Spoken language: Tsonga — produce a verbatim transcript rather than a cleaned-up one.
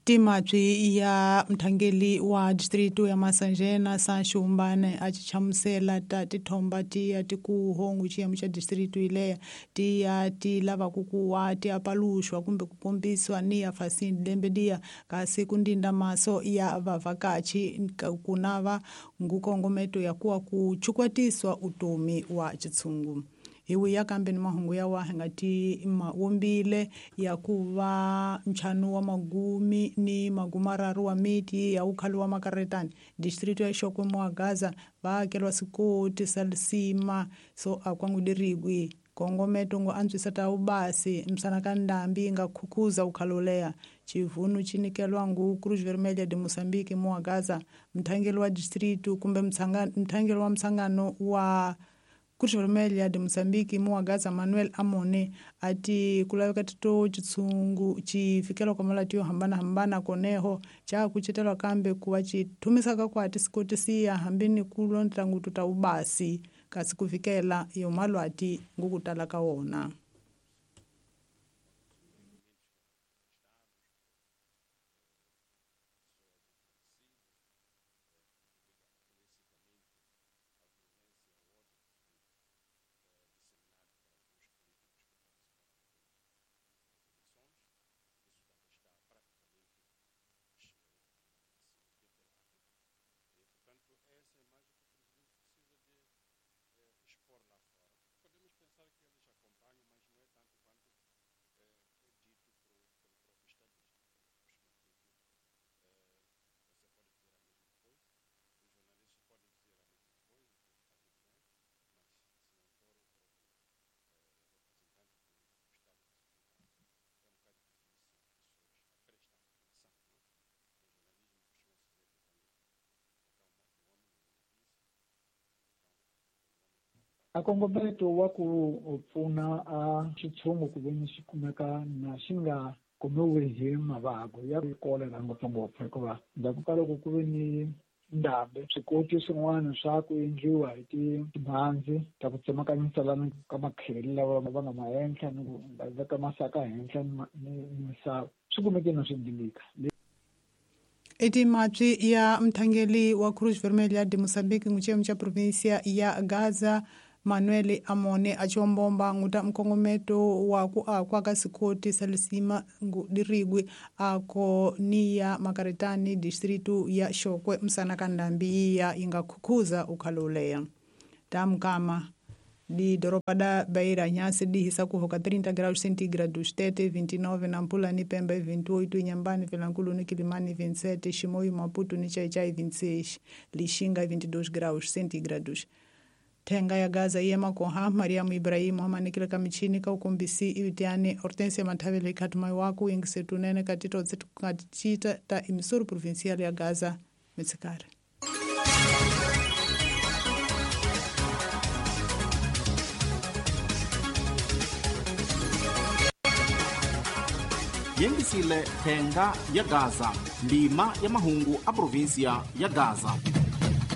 Timabyi ya mthangeli wa distrito ya Masanjena Sanxumbane a chichamusela ta tithomba tiya tikuhongu xiyimo xa distrito ileya tiya ti lava ku kuwa ti apaluxwa kumbe ku kombiswa ni ya fasini lembe liya kasi ku ndinda maso ya vavhakachi ku nava ngukongometo ya kuwa ku chukwatiswa utomi wa chitsungu. Hi ya kambe ni mahungu ya wa nga ti mawumbile ya kuva nchanu wa magumi ni magumararu wa miti ya ukhali wa makaretani distrito ya Shokwe mwa Gaza vaakelwa sikoti salisima so akwangudirigwi kongometo ngo antswisa ta ubasi msana ka ndambi nga khukhuza ukhalolea chivunu chinikelwa ngu Cruz Vermelha de Moçambique mwa Gaza mthangeli wa distrito kumbe mthangeli wa msangano wa Cruz Vermelha de Moçambique mwa Gaza Manuel Amone ati kulaveka tito chitsungu chifikela kwa malati yo hambana hambana koneho cha kuchetelwa kambe kuwa chitumisaka kwa ati siya hambini kulondla ngutu ta ubasi kasi kufikela yo malwati ngukutala ka wona. A kongometo wa ku pfuna a xitshungu ku veni xi kumeka na xi nga kumiwi hi mavabyi ya kolera ngopfungopfu hikuva ndzhaku ka loko ku ve ni ndhambi swikoti swin'wana swa ku endliwa hi timhandzi ta ku tsemakanyisa lana ka makheli lawa va nga ma henhla ni ku veka masaka henhla ni misava swi kumeke na swi dilika. Etimabyi ya mthangeli wa Cruz Vermelha de Moçambique nguchiyemo cha província ya Gaza Manuel Amone achombomba nguta mkongometo wa ku akwa ka sikoti salisima ngudirigwi ako niya makaretani distrito ya Shokwe msana kandambi ya inga khukhuza ukhaloleya tamkama di doropa da Beira nyasi dihisa kuhoka trinta graus centígrados, Tete vinte e nove, Nampula ni Pemba vinte e oito, Inhambane, Vilankulo ni Quilimane vinte e sete, Chimoio, Maputo ni Chai-Chai vinte e seis, Lixinga vinte e dois graus centígrados. Tenga ya Gaza yema koha Mariamu Ibrahimu amanikila kamichini ka ukombisi iutiane Hortensia Matavele katumai waku ingisetunene katito tsetu katichita ta imisuru provincial ya Gaza metsekare. Yengisile Tenga ya Gaza, ndima ya mahungu a província ya Gaza.